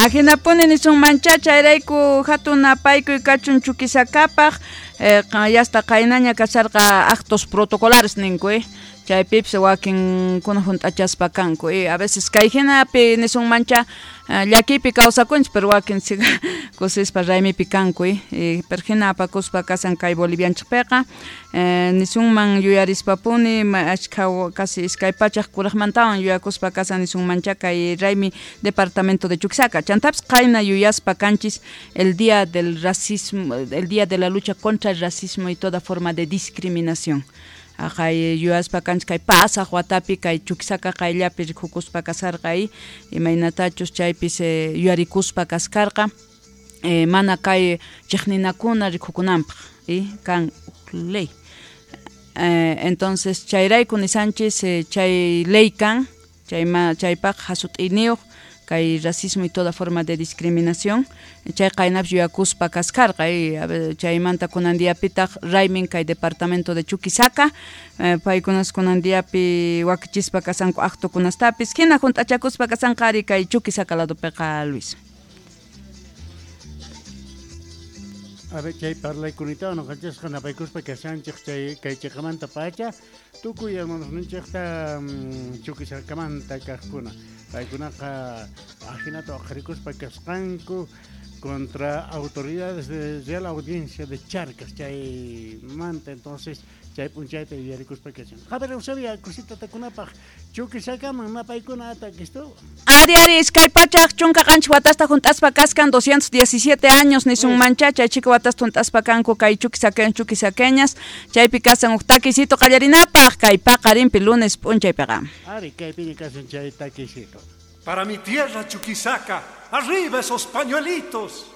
Ajinapuni nisunmancha chayrayku hatun napaykuy kachun Chuquisacapaj yasta qaynaña kasharqa actos protocolares ninku chaypipis wakinkuna junt'achaspa kanku a veces kay hinapi nisunmancha llakiypi kawsakunchik pero wakin kusispa raymipi kanku pero hina apakuspa kasan kay Bolivianchikpiqa nisunman yuyarispapuni ashkha casi iskay pachak kurajmantawan yuyakuspa kasan nisunmancha kay raymi departamento de Chuquisaca chantapis qayna yuyaspa kanchis el día del racismo, el día de la lucha contra el racismo y toda forma de discriminación. Aqay yuyaspa kanchik kay pasaq watapi kay Chuquisaca qayllapi rikukuspa kasarqa imaynatachus chaypis yuyarikuspa kaskarqa mana kay chiqninakuna rikukunanpaq kan ley. Entonces chayrayku nisanchis chay ley kan chaypaq hasut'iyniyuq kay racismo y toda forma de discriminación chay qaynapis yuyakuspa kaskarqa chaymanta kunan diapitaq raymin kay departamento de Chuquisaca paykunas kunan diapi wakichispa kasanku actokunastapis hina junt'achakuspa kasanqa ari kay Chuquisaca ladopiqa Luis. A ver, chay parlaykunita noqanchikqa napaykuspa kashanchik chay kay chiqamanta pacha tukuy hermanosninchikta Chuquisacamanta kaqkuna paykunaqa ajinata waqarikuspa kasqanku contra autoridades de Real Audiencia de Charcas chaymanta entonces chay p'unchayta yuyarikuspa kashan. A ver, Eusebia, cosita takunapaq Chuquisacaman napaykuna atakistu. Ari ari iskay pachak chunka qanchis watasta junt'aspa kaskan 217 años nisunmancha chay chika watasta junt'aspa kanku kay chuquisaqueñas chaypi kasan huk takisito qallarinapaq kay paqarinpi lunes p'unchaypiqa. Ari kaypiña kasan chay takisito. Para mi tierra Chuquisaca, arriba esos pañuelitos.